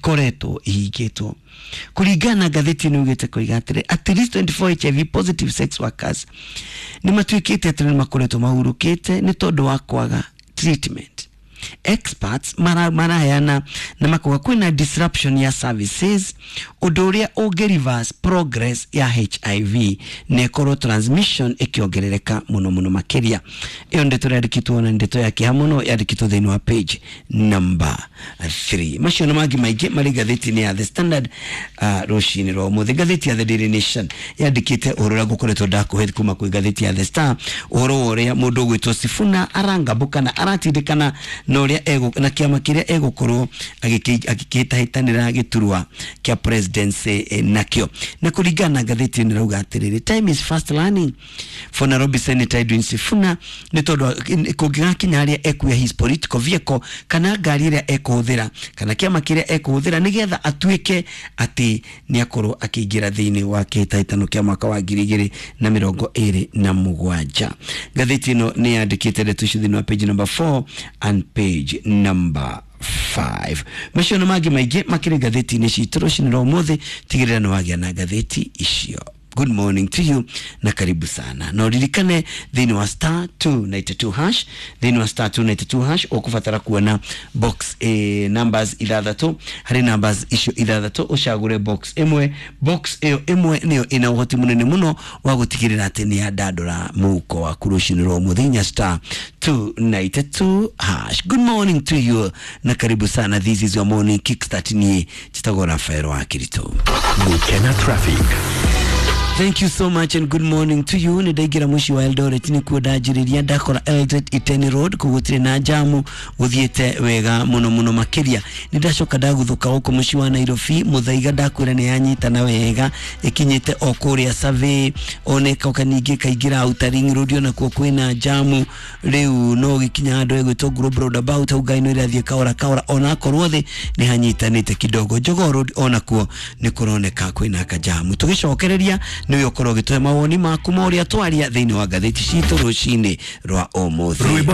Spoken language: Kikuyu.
ikoretwo ihingĩtwo. Kũringana na ngathĩti ĩno yugĩte koiga atĩrĩ, at least 24 HIV positive sex workers nĩ matuĩkĩte atĩ nĩ makoretwo mahurũkĩte nĩ tondũ wa kwaga treatment. Experts maraheana na makuga kwĩna disruption ya services, ũndũ ũrĩa ũngĩ reverse progress ya HIV na ĩkorwo transmission ĩkĩongerereka mũno mũno makĩria. Ĩyo ndeto yandĩkĩtwo na ndeto ya kĩeha mũno, yandĩkĩtwo thĩinĩ wa page number 3. Macio na mangĩ maingĩ marĩ ngathĩti-inĩ ya The Standard rũcinĩ rwa ũmũthĩ. Ngathĩti ya The Daily Nation yandĩkĩte ũhoro ũrĩa ngũkoretwo ndakũhe kuma kwĩ ngathĩti ya The Star, ũhoro wa ũrĩa mũndũ ũgwĩtwo Sifuna arangambũkana aratindĩkana na ũrĩa na kĩama kĩrĩa egũkorwo agĩkĩhĩtahĩtanĩra gĩturwa kĩa presidency nakĩo. Na kũringana na ngathĩti ĩno ĩrauga atĩrĩrĩ, time is fast learning for Nairobi Senator Edwin Sifuna, nĩ tondũ kũngĩgakinya harĩa ekuoya his political vehicle kana ngari ĩrĩa ekũhũthĩra kana kĩama kĩrĩa ekũhũthĩra nĩgetha atuĩke atĩ nĩ akorwo akĩingĩra thĩinĩ wa kĩhĩtahĩtano kĩa mwaka wa 2027. Ngathĩti ĩno nĩ yandĩkĩte ndeto icio thĩinĩ wa page number 4 and page number 5. Macio na mangĩ maingĩ makĩrĩ ngathĩti-inĩ citũ rũcinĩ rwa ũmũthĩ. Tigĩrĩra nĩ wagĩa na ngathĩti icio. Good morning to you na karibu sana. Na uririkane thĩinĩ wa star 292 hash, thĩinĩ wa star 292 hash ũkũbatara kuona box numbers ithathatũ. Harĩ numbers icio ithathatũ ũcagũre box ĩmwe. Box ĩyo ĩmwe nĩyo ĩna ũhoti mũnene mũno wa gũtigĩrĩra atĩ nĩ yandandũra mũhuko waku rũcinĩ rwa ũmũthĩ, inya star 292 hash. Good morning to you na karibu sana. This is your morning kickstart. Niĩ njĩtagwo Rafael wa Kirito. Gukena traffic. Thank you so much and good morning to you. Nĩ ndaingĩra mũciĩ wa Eldoret nĩkuo ndanjĩrĩria, ndakora Eldoret Iten Road kũu gũtirĩ na jamu, gũthiĩte wega mũno mũno makĩria. Nĩ ndacoka ndaguthũka gũkũ mũciĩ wa Nairobi, Mũthaiga ndakwĩra nĩ yanyitana wega, ĩkinyĩte o kũrĩa Survey, ona ĩkoka ningĩ ĩkaingĩra Outer Ring Road, onakuo kwĩna jamu. Rĩu no gĩkinya handũ ĩgwĩtwo Global Roundabout, hau ngari no ĩrathiĩ kahora kahora, onakorwo thĩ nĩ hanyitanĩte kidogo. Jogoo Road onakuo nĩ kũroneka kwĩna kajamu. Tũgĩcokereria nĩwe ũkorwo ũgĩtũhe mawoni maku ma ũrĩa twaria thĩinĩ wa ngathĩti citũ rũcinĩ rwa ũmũthĩ. Rwĩmbo.